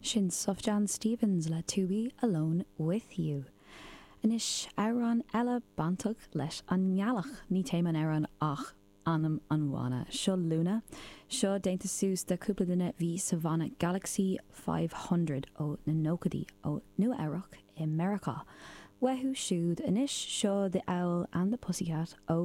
Sin Sufjan Stevens le To Be Alone With You. Anois, amhrán eile bainteach leis an ngealach. Ní téama an amhráin ach ainm an bhanna. Seo Luna. Seo déanta suas de cúpla duine bhí sa bhanna Galaxie 500 ó na nóchaidí ó Nua Eabhrac i Meiriceá. Uathu siúd anois, seo The Owl and the Pussycat ó.